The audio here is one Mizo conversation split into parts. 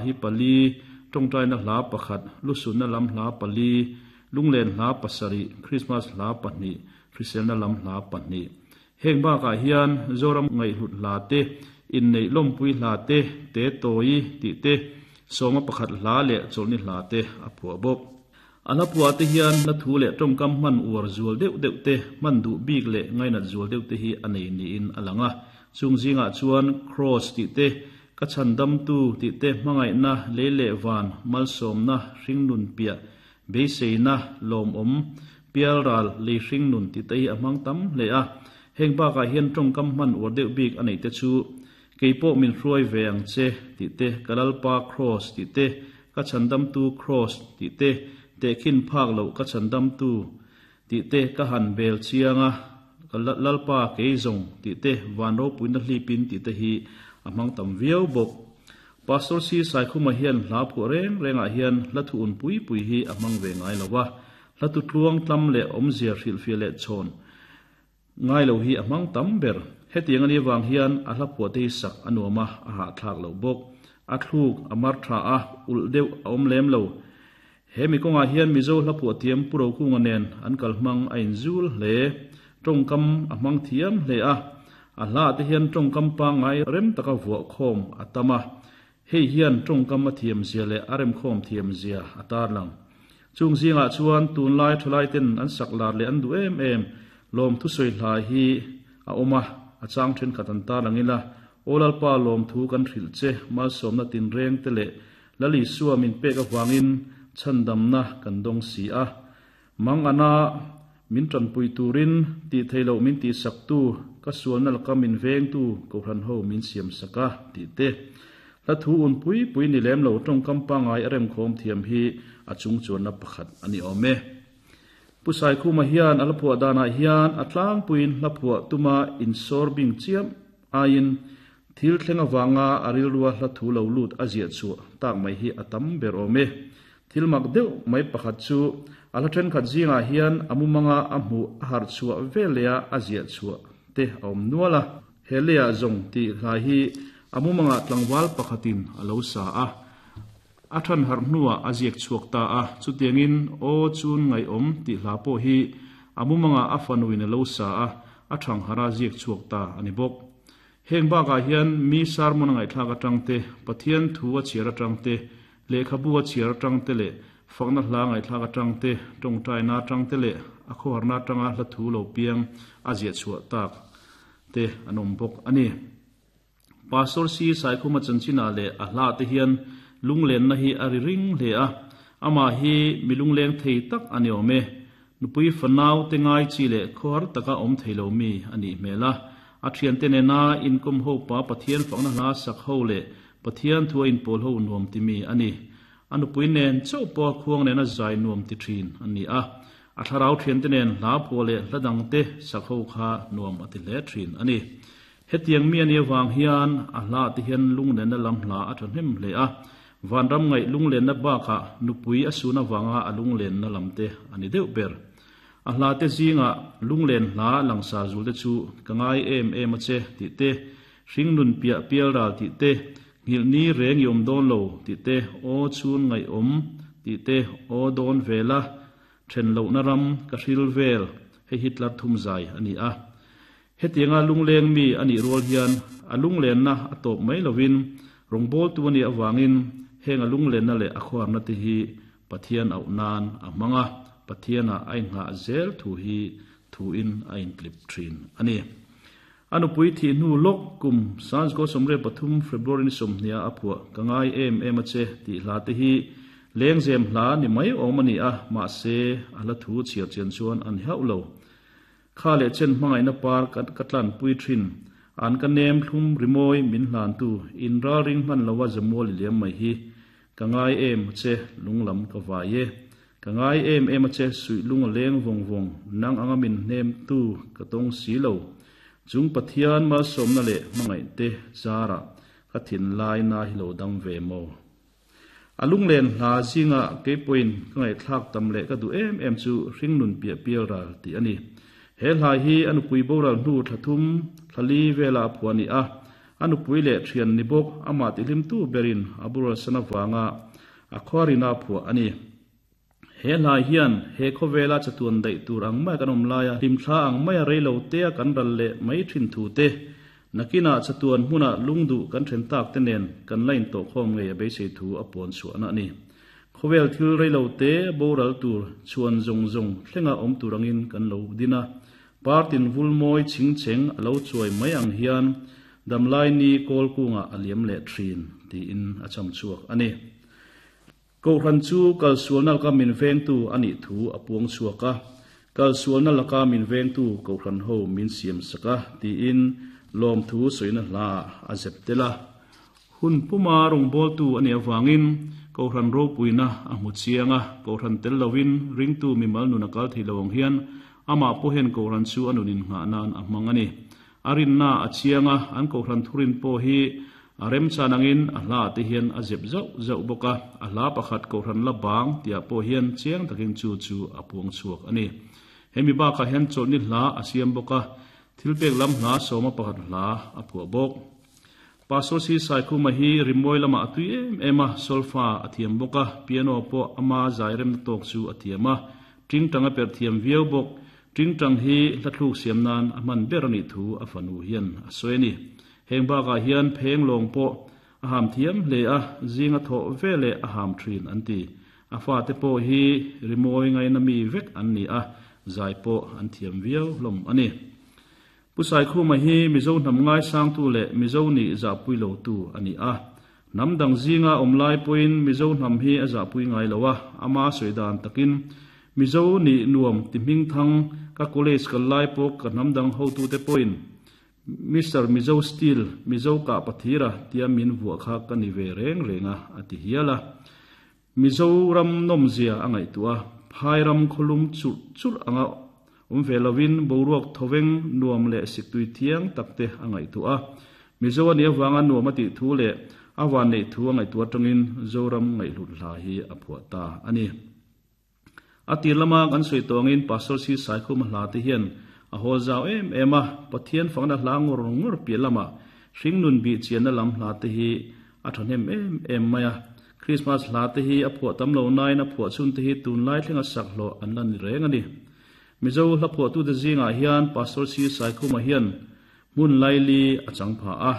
hi pali, tawngtaina hla pakhat, lusunna lam hla pali, lunglen hla pasarih, Krismas hla pahnih, hriselna lam hla pahnih. Heng bakah hian Zoram ngaihhlut hla te, inneih lawmpui hla te, te tawi tih te, sawma pakhat hla leh chawlhni hla te a phuah bawk. A hla phuah te hian hla thu leh tawngkam hman uar zual deuh deuh te, hman duh bik leh ngainat zual deuh te hi a nei niin a lang a. Chung zingah chuan Kraws tih te, ka chhandamtu tih te, hmangaihna, lei leh van, malsawmna, hringnun piah, beiseina, lawmawm, pialral, lei hringnun tih te hi a hmang tam hle a. Heng bakah hian tawngkam hman uar deuh bik a neih te chu Kei pawh min hruai ve ang che tih te, ka Lalpa Kraws tih te, ka Chhandamtu Kraws tih te, tehkhin phak loh ka Chhandamtu tih te ka han bel chiang a, ka Lalpa kei zawng tih te, van ropuina hlipin tih te hi a hmang tam viau bawk. Pastor Si Saikhuma hian hla phuah reng rengah hian hla thu un pui pui hi a hmang ve ngai lo a, hla tu tluang tlam leh awmzia hrilhfiah leh chhawn Ngai lo hi a hmang tam ber. Hetiang a nih avang hian a hla phuah te hi sak a nuam a, a hahthlak loh bawk. A thluk, a mar tha a, ulh deuh a awm lem lo. He mi kawngah hian Mizo hla phuah thiam Pu Rokunga nen an kal hmang a inzul hle. Tawngkam a hmang thiam hle a, a hla ah te hian tawngkam pangngai rem taka vuah khawm a tam a. Hei hian tawngkam a thiam zia leh a remkhawm thiam zia a tarlang. Chung zingah chuan tunlai thalaiten an sak lar leh an duh em em lawmthu sawi hla hi a awm a, a chang thenkhat an tarlang ila, Aw Lalpa lawmthu kan hrilh che, malsawmna tinreng te leh Lal Isua min pek avangin chhandamna kan dawng si a. Mang ana min tanpui turin tih theih loh min tihsaktu, ka sualna laka min vengtu Kohhran ho min siamsak a, tih te. Hla thu un pui pui ni lem lo tawngkam pangngai a remkhawm thiam hi a chung chuanna pakhat a ni awm e. Pu Saikhuma hian a hla phuah danah hian a tlangpuiin hla phuah tuma insawr bing chiam aiin thil thleng avanga a rilrua hla thu lo lut a ziah chhuah tak mai hi a tam ber awm e. Thil mak deuh mai pakhat chu a hla thenkhat zingah hian a mumanga a hmuh a harh chhuah veleh a a ziah chhuah te a awm nual a. He leiah zawng tih hla hi a mumangah tlangval pakhatin a lo sa a, a than harh hnuah a ziak chhuak ta a. Chutiangin Aw chun ngaihawm tih hla pawh hi a mumangah a fanuin a lo sa a, a thang harh a ziak chhuak ta a ni bawk. Heng bakah hian mi sermon a ngaihthlak atang te, Pathian thu a chhiar atang te, lehkhabu a chhiar atang te leh fakna hla ngaihthlak atang te, tawngtaina atang te leh a khawharna atanga hla thu lo piang a ziah chhuah tak te an awm bawk a ni. Pastor Si Saikhuma chanchinah leh a hla te hian lunglenna hi a ri ring hle a, amah hi mi lungleng thei tak a ni awm e. Nupui fanau te ngai chi leh khawhar taka awm thei lo mi a nih hmel a. A thiante nena inkawm ho pa Pathian fakna hla sak ho leh Pathian thu a inpawl ho nuam ti mi a ni. A nupui nen chauh pawh a khuang nena zai nuam ti thin a ni a. A thlarau thiante nen hla phuah leh hla dangte sak ho kha nuam a ti hle thin a ni. Hetiang mi a nih avang hian a hla te hian lunglenna lam hla a tha hnem hle a, vanram ngaih lunglenna bakah nupui a sun avanga a lunglenna lam te a ni deuh ber. A hla te zingah lunglen hla langsar zul te chu ka ngai em em a che tih te, hringnun piah pial ral tih te, nghilh ni reng i awm dawn lo tih te, aw chhun ngaihawm tih te, aw dawn vela then lohna ram ka hril vel, hei hi tlar thum zai a ni a. Hetianga lungleng mi a nih rual hian a lunglenna a tawp mai lovin rawngbawltu a nih avangin heng a lunglenna leh a khuarna te hi Pathian auh nan a hmang a, Pathianah a inghah zel thu hi thuin a intlip thin a ni. A nupui thih hnu lawk kum Sanzgo 13 February ni 20 a phuah Ka ngai em em a che tih hla te hi lengzem hla ni mai awm a ni a, mahse a hla thu chhiar chian chuan a ni hauh lo. Kha leh chen hmangaihna par ka tlanpui thin. An ka nem thlum rimawi min hlantu in ralring hman lova zamual i liam mai hi. Ka ngai em a che lunglam ka vai e. Ka ngai em em a che suih lung a leng vawng vawng nang anga min hnem tu ka tawng si lo. Chung Pathian malsawmna leh hmangaih te zarah ka thinlai na hi lo dam ve maw? A lunglen hla zinga keipawhin ka ngaihthlak tam leh ka duh em em chu hringnun piah pial ral tih a ni. He hla hi a nupui boral hnu thla thum, thla li vela a phuah a ni a. A nupui leh thian ni bawk amah tihlimtu berin a boralsan avanga a khuarina phuah a ni. He hla hian he khawvela chatuan daih tur ang maia kan awm laia hlimthla ang maia reilo tea kan ral leh mai thin thu te, nakinah chatuan hmuna lungduh kan then tak te nen kan la intawhkhawm ngei a beisei thu a puan chhuahna a ni. Khawvel thil reilo te boral tur chhuan zawng zawng thlenga awm tur angin kan lo din a, partin vul mawi ching cheng a lo chuai mai ang hian damlai ni kawl kungah a liam leh thin tiin a cham chhuak a ni. Kohhran chu kalsualna laka min vengtu a nih thu a puang chhuak a, Kalsualna laka min vengtu Kohhran ho min siam sak a, tiin lawmthu sawina hlaah a zep tel a. Hun puma rawngbawltu a nih avangin Kohhran ropuina a hmu chiang a, Kohhran tel lovin ringtu mimal nun a kal thei lo ang hian amah pawh hian Kohhran chu a nun innghah nan a hmang a ni. A rinna a chiang a, an Kohhran thurin pawh hi a remchan angin a hlaah te hian a zep zauh zauh bawk a, a hla pakhat Kohhran la bang tihah pawh hian chiang takin chu chu a puang chhuak a ni. Hemi bakah hian chawlhni hla a siam bawk a, thilpek lam hla sawma pakhat hla a phuah bawk. Pastor Si Saikhuma hi rimawi lamah a tui em em a, solfa a thiam bawk a, piano pawh ama zai remna tawk chu a thiam a, tingtang a perh thiam viau bawk. Tingtang hi hlathluk siam nan a hman ber a nih thu a fanu hian a sawi a ni. Heng bakah hian pheng lawng pawh a ham thiam hle a, zing a thawh ve leh a ham thin an ti. A fate pawh hi rimawi ngaina mi vek an ni a, zai pawh an thiam viau hlawm a ni. Pu Saikhuma hi Mizo hnam ngaisangtu leh Mizo nih zahpui lotu a ni a. Hnam dang zinga awm lai pawhin Mizo hnam hi a zahpui ngai lo a, ama sawi dan takin, Mizo nih nuam ti hmingthang ka college kal lai pawh ka hnam dang hotute pawhin Mister Mizo Steel, Mizo kah pathira tia min vuah kha ka ni ve reng reng a, a ti hial a. Mizoram nawmzia a ngaihtuah a, phai ram khawlum churh churh anga awm ve lovin boruak thawveng nuam leh siktui thiang tak te a ngaihtuah a. Mizo a nih avanga nuam a tih thu leh a van neih thu a ngaihtuah atangin Zoram ngaihhlut hla hi a phuah ta a ni. A tir lama kan sawi tawh angin Pastor Si Saikhuma hla te hian a haw zau em em a, Pathian fakna hla ngawr ngawr piah lamah hringnun bih chianna lam hla te hi a thahnem em em mai a. Krismas hla te hi a phuah tam lo nain a phuah chhun te hi tunlai thlenga sak hlawh an la ni reng a ni. Mizo hla phuahtute zingah hian Pastor Si Saikhuma hian hmun laili a chang phah a,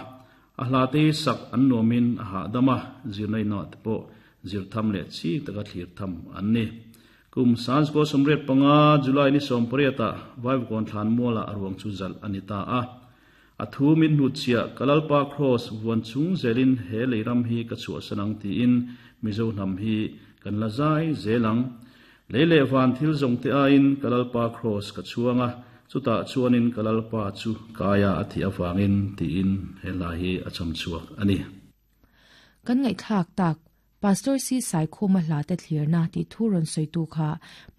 A hla te hi sak an nuamin a hahdam a, zirna inah te pawh zir tham leh chik taka thlir tham an ni. Kum Sansko 85 July ni 18 ah Vaivakawn thlan mualah a ruang chu zalh a ni ta a. A thu min hnutchhiah ka Lalpa Kraws vuan chung zelin he lei ram hi ka chhuahsan ang tiin Mizo hnam hi kan la zai zel ang. Lei leh van thil zawng te aiin ka Lalpa Kraws ka chhuang a, chutah chuanin ka Lalpa chu kaia a thih avangin tiin he hla hi a cham chhuak a ni. Kan ngaihthlak tak, Pastor Si Saikhuma hla te thlirna tih thu rawn sawitu kha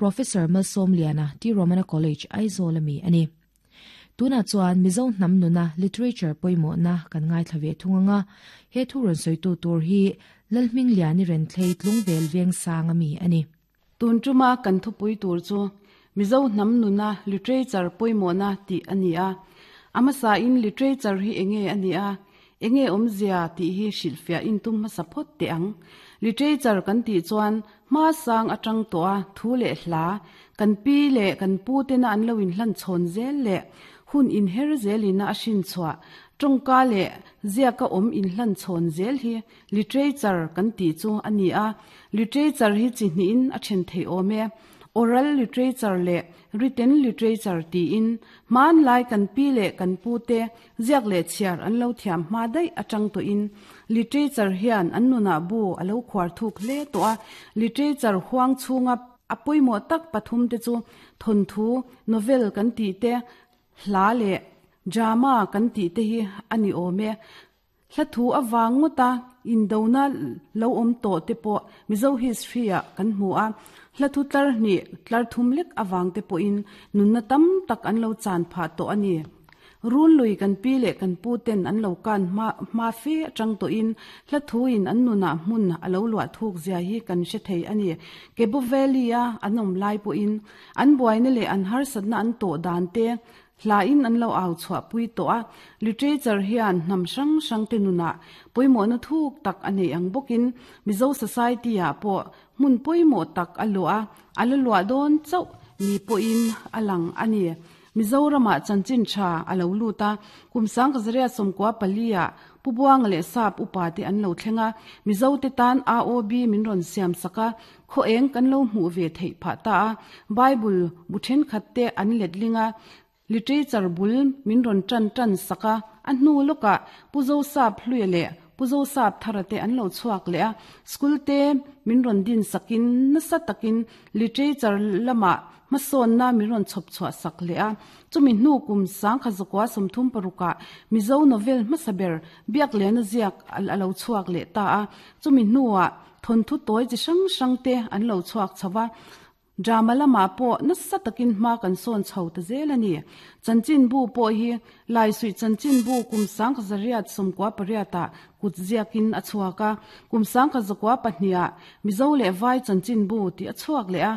Professor Malsawmliana, T. Romana College, Aizawl ami a ni. Tunah chuan Mizo hnam nuna literature pawimawhna kan ngaithla ve thung ang a, he thu rawn sawitu tur hi Lalhmingliani Renthlei Tlungvel Vengsang ami a ni. Tun tuma kan thupui tur chu Mizo hnam nuna literature pawimawhna tih a ni a. A hmasain literature hi enge a nih a, enge awmzia tih hi hrilhfiah intum hmasa phawt teh ang. Literature kan tih chuan Hma sang atang tawh a thu leh hla, kan pi leh kan pu tena an lo inhlan chhawn zel leh hun inher zelina a hrin chhuah, tawngka leh ziaka awm inhlan chhawn zel hi literature kan tih chu a ni a. Literature hi chi hnihin a then thei awm e. Oral literature leh written literature tiin hmanlai kan pi leh kan pu te Ziak leh chhiar an lo thiam hma daih atang tawhin literature hian an nunah bu a lo khuar thuk hle tawh a. Literature huang chhunga a pawimawh tak pathum te chu thawnthu, novel kan tih te, hla leh drama kan tih te hi a ni awm e. Hla thu avang ngawta indona lo awm tawh te pawh Mizo history ah kan hmu a. Hla thu tlar hnih, tlar thum lek avang te pawhin nunna tam tak an lo chan phah tawh a ni. Run lui kan pi leh kan pu ten an lo kan hma hma fe atang tawhin hla thu in an nunah hmun a lo luah thuk zia hi kan hre thei a ni. Kebo Valley a an awm lai pawhin an buaina leh an harsatna an tawh dan te. Hla in an lo au chhuah pui tawh a, literature hian hnam hrang hrang te nunah pawimawhna thuk tak a nei ang bawkin Mizo society ah pawh hmun pawimawh tak a luah a, a la luah dawn chauh ni pawhin a lang a ni. Mizoramah chanchin tha a lo lut a, kum sangkazaria sawmkua pali ah Pu Buanga leh Sap upa te an lo thleng a, Mizo te tan AOB min rawn siam sak a, khaw eng kan lo hmuh ve theih phah ta a, Bible bu thenkhat te an letling a, literature bul min rawn tan tan sak a, a hnu lawkah Pu Zosap Hluia leh Pu Zosap Thara te an lo chhuak leh a, school te min rawn din sakin nasa takin literature lamah hmasawnna min rawn chhawp chhuah sak leh a. Chumi hnu kum sangkhat zakua 36 ah Mizo novel hmasa ber Biaklena ziak a lo chhuak leh ta a, chumi hnuah Thawnthu tawi chi hrang hrang te an lo chhuak chho va, drama lamah pawh nasa takin hma kan sawn chho ta zel a ni. Chanchinbu pawh hi Laisuih Chanchinbu kum sangkha zariat 98 ah kut ziakin a chhuak a, kum 1902 ah Mizo leh Vai Chanchinbu tih a chhuak leh a,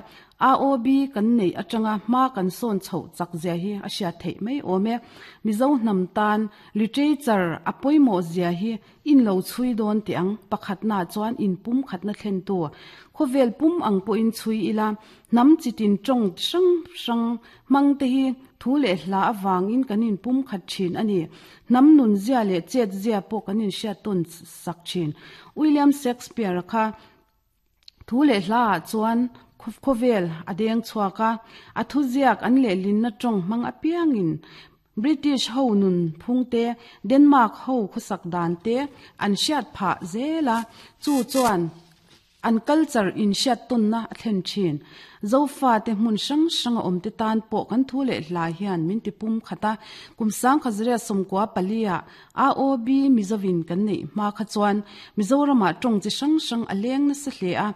AOB kan neih atanga hma kan sawn chhoh chak zia hi a hriat theih mai awm e. Mizo hnam tan literature a pawimawh zia hi In lo chhui dawn teh ang, pakhatna chuan in pum khatna thlentu khawvel pum ang pawhin chhui ila, hnam chitin tawng hrang hrang hmang te hi thu leh hla avangin kan in pum khat thin a ni. Hnam nun zia leh chet zia pawh kan in hriat tawn sak thin. William Shakespeare-a kha Thu leh hla ah chuan khawvel a deng chhuak a, a thuziak an lehlinna tawng hmang apiangin British ho nun phung te, Denmark ho khawsak dan te an hriat phah zel a, chu chuan an culture inhriat tawnna a thlen thin. Zofate hmun hrang hrang a awmte tan pawh kan thu leh hla hian min ti pum khat a, kum 1994 ah AOB Mizovin kan neih hma kha chuan Mizoramah tawng chi hrang hrang a leng nasa hle a,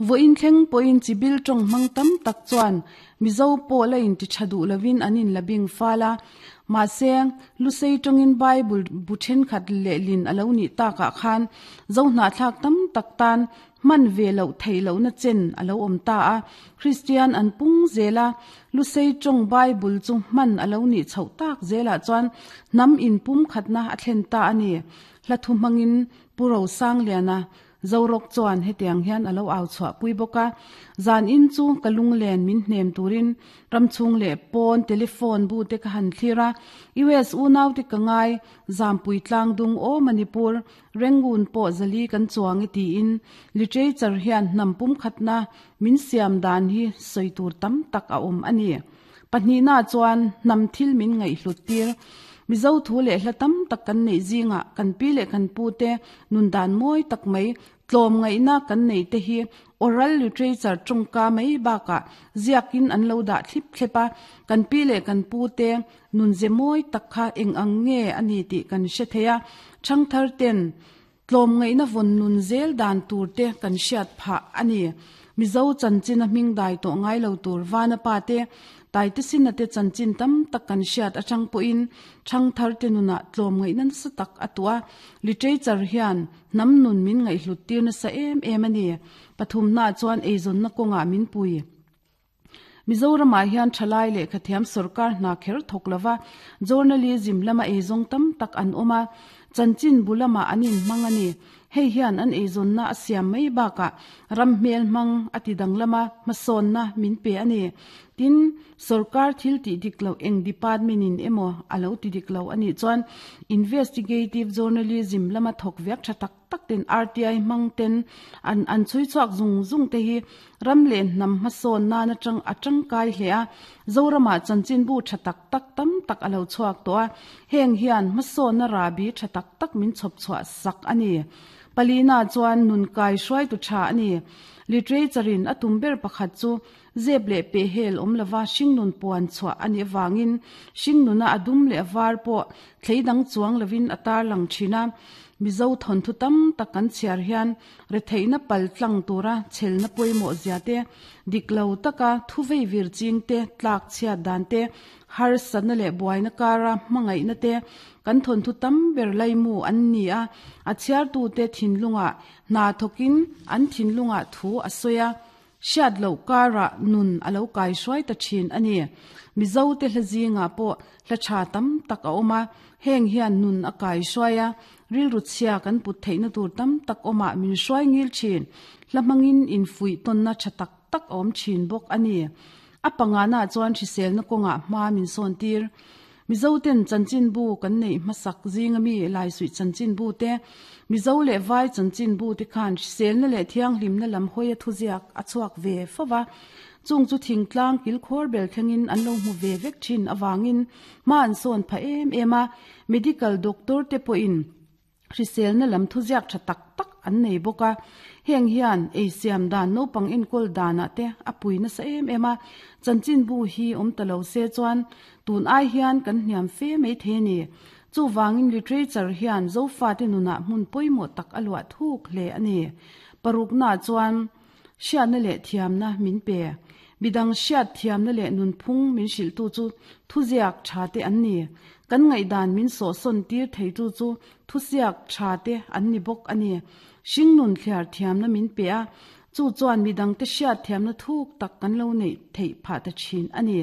vawiin thleng pawhin chi bil tawng hmang tam tak chuan Mizo pawh la inti tha duh lovin an inla bing fal a. Mahse, Lusei tawngin Bible bu thenkhat lehlin a lo nih takah khan Zohnahthlak tam tak tan Hman ve loh theih lohna chen a lo awm ta a, Kristian an pung zel a, Lusei tawng Bible chu hman a lo nih chhoh tak zelah chuan hnam inpumkhatna a thlen ta a ni. Hla thu hmangin Pu Rosangliana Zorawk chuan hetiang hian a lo au chhuah pui bawk a, Zan in chu ka lunglen min hnem turin ramchhung leh pawn telephone bu te ka han thlir a, US unaute ka ngai, Zampui tlangdung aw Manipur, Rangoon pawh zali kan chuang e tiin literature hian hnam pumkhatna min siam dan hi sawi tur tam tak a awm a ni. Pahnihna chuan hnam thil min ngaihhlut tir. Mizo thu leh hla tam tak kan neih zingah kan pi leh kan pu te nun dan mawi tak mai tlawm ngaihna kan neih te hi oral literature tawngka mai bakah ziakin an lo dah thlip thlep a, kan pi leh kan pu te Nunze mawi tak kha eng ang nge a ni tih kan hre thei a, ṭhangthar ten tlawmngaihna vawn nun zel dan tur te kan hriat phah a ni. Mizo chanchin a hming dai tawh ngai lo tur Vana pa te, Taitesina te chanchin tam tak kan hriat aṭang pawhin ṭhangthar te nunah tlawmngaihna nasa tak a tuah a, literature hian hnam nun min ngaihhlut tir nasa em em a ni. Pathumna chuan eizawnna kawngah min pui. Mizoramah hian thalai lehkhathiam sorkar hna kher thawk lova journalism lama eizawng tam tak an awm a, chanchin bu lamah an inhmang a ni. Hei hian an eizawnna a siam mai bakah ram hmel hmang a ti danglama hmasawnna min pe a ni. Tin, sorkar thil tih dik loh eng department in emaw a lo ti dik lo a nih chuan investigative journalism lama thawk viak tha tak tak ten RTI hmang ten an an chhui chhuak zung zung te hi ram leh hnam hmasawn nan atang a tangkai hle a, Zoramah chanchinbu tha tak tak tam tak a lo chhuak tawh a, heng hian hmasawnna rahbi tha tak tak min chhawp chhuah sak a ni. Palina chuan nun kai hruaitu tha a ni. Literature in a tum ber pakhat chu zep leh pehhel awm lova hringnun puan chhuah a nih avangin hringnuna a dum leh a var pawh thlei dang chuang lovin a tarlang thin a. Mizo thawnthu tam tak kan chhiar hian retheihna pal tlang tura chhelna pawimawh zia te, dik lo taka thu vei vir ching te, tlak chhiat dan te, harsatna leh buaina kara hmangaihna te kan thawnthu tam ber laimu an ni a, a chhiartute thinlungah hna thawkin an thinlungah thu a sawi a. Hriat loh karah nun a lo kai hruai ta thin a ni. Mizo te hla zingah pawh hla tha tam tak a awm a, heng hian nun a kai hruai a, rilru chhia kan put theihna tur tam tak awmah min hruai ngil thin. Hla hmangin infuih tawnna tha tak tak a awm thin bawk a ni. A pangana chuan hriselna kawngah hma min sawn tir. Mizoten chanchinbu kan neih hmasak zinga mi Laisuih chanchinbu te, Mizo leh Vai chanchinbu te khan hriselna leh thianghlimna lam hawia thuziak a chhuak ve fo va. Chung chu thingtlang kilkhawr bel thlengin an lo hmu ve vek thin avangin hma an sawn phah em em a, medical doctor te pawhin Hriselna lam thuziak tha tak tak an nei bawk a, heng hian ei siam dan naupang enkawl danah te a pui nasa em em a, chanchinbu hi awm ta lo se chuan tun ai hian kan hniam fe mai thei a ni. Chuvangin literature hian Zofate nunah hmun pawimawh tak a luah thuk hle a ni. Paruknaah chuan hriatna leh thiamna min pe. Midang hriat thiamna leh nunphung min hrilhtu chu thuziak tha te an ni. Kan ngaihdan min sawhsawn tir theitu chu thusiak tha te an ni bawk a ni. Hringnun thliar thiamna min pe a, chu chuan midangte hriat thiamna thuk tak kan lo neih theih phah ta thin a ni.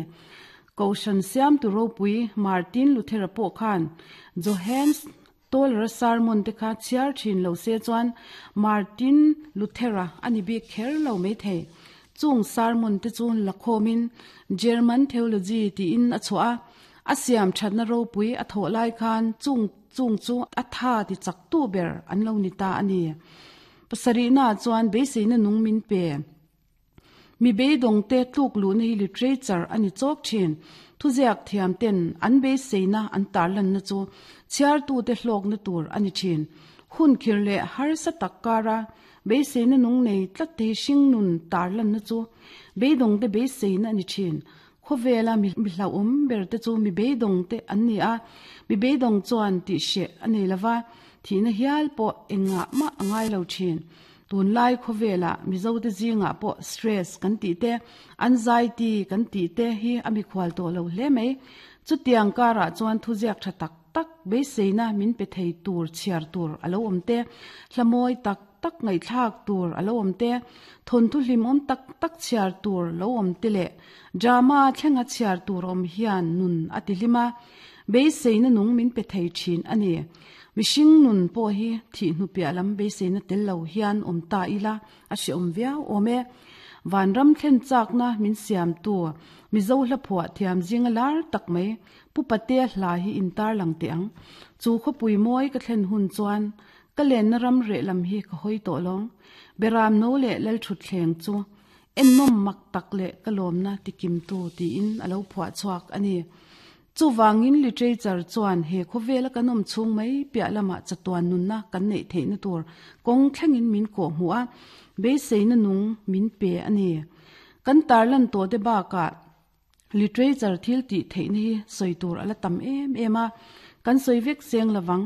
Kohhran siamtu ropui Martin Luthera pawh khan Johannes Toller-a sermon te kha chhiar thin lo se chuan Martin Luther-a a ni bik kher lo maithei. Chung sermon te chu lakhawmin German Theology tiin a chhuah a, a siam thatna ropui a thawh lai khan chung chung chu a tha ti chaktu ber an lo ni ta a ni. Pasarihna chuan beiseina nung min pe. Mi beidawngte tluk luhna hi literature a ni chawk thin. Thuziak thiam ten an beiseina an tarlanna chu chhiartute hlawkna tur a ni thin. Hun khir leh harsa tak kara beiseina nung nei tlat te hi hringnun tarlanna chu beidawngte beiseina a ni thin. Khawvela mi hlauhawm ber te chu mi beidawngte an ni a, mi beidawng chuan tihhreh a nei lova, thihna hial pawh engah mah a ngai lo thin. Tunlai khawvelah Mizote zingah pawh stress kan tih te, anxiety kan tih te hi a mikhual tawh lo hle mai. Chutiang karah chuan thuziak tha tak tak beiseina min pe thei tur chhiar tur a lo awm te, hla mawi tak tak ngaihthlak tur a lo awm te, thawnthu hlimawm tak tak chhiar tur lo awm te leh drama thlenga chhiar tur awm hian nun a ti hlim a, beiseina nung min pe thei thin a ni. Mihring nun pawh hi thih hnu piah lam beiseina tel lo hian awm ta ila a hrehawm viau awm e. Vanram thlen chakna min siamtu Mizo hla phuah thiam zinga lar tak mai Pu Patea hla hi in tarlang teh ang. Chu khawpui mawi ka thlen hun chuan ka lenna ram reh lam hi ka hawi tawh lawng. Beram no leh Lalthutthleng chu ennawm mak tak leh ka lawmna tikimtu tiin a lo phuah chhuak a ni. Chuvangin literature chuan he khawvela kan awm chhung mai piah lamah chatuan nunna kan neih theihna tur kawng thlengin min kawh hmuh a, beiseina nung min pe a ni. Kan tarlan tawh te bakah literature thil tih theihna hi sawi tur a la tam em em a, kan sawi vek seng lovang.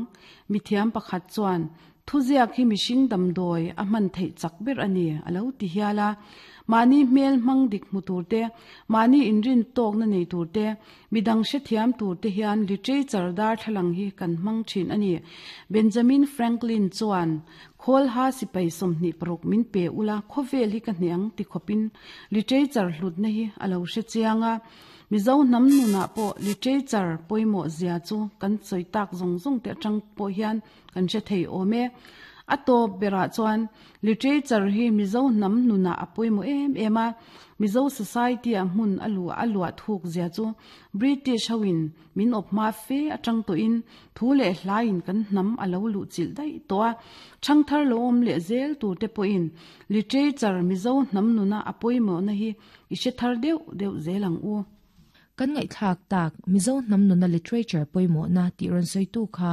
Mithiam pakhat chuan Thuziak hi mihring damdawi a hman theih chak ber a ni, a lo ti hial a. Mahni hmel hmang dik hmu tur te, mahni inrin tawkna nei tur te, midang hrethiam tur te hian literature darthlalang hi kan hmang thin a ni. Benjamin Franklin chuan, Khawlha sipai 26 min pe ula, khawvel hi ka hneh ang ti khawpin literature hlutna hi a lo hre chiang a. Mizo hnam nunah pawh literature pawimawh zia chu kan sawi tak zawng zawng te atang pawh hian Kan hre thei awm e. A tawp berah chuan literature hi Mizo hnam nunah a pawimawh em em a, Mizo society-ah hmun a luah a luah thuk zia chu British hoin min awp hma fe atang tawhin thu leh hlaiin kan hnam a lo luh chilh daih tawh a, thangthar lo awm leh zel turte pawhin literature Mizo hnam nuna a pawimawhna hi i hre thar deuh deuh zel ang u. Kan ngaihthlak tak Mizo hnam nuna literature pawimawhna tih rawn sawitu kha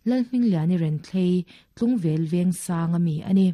Lalhmingliani Renthlei, Tlungvel Vengsang a mi a ni.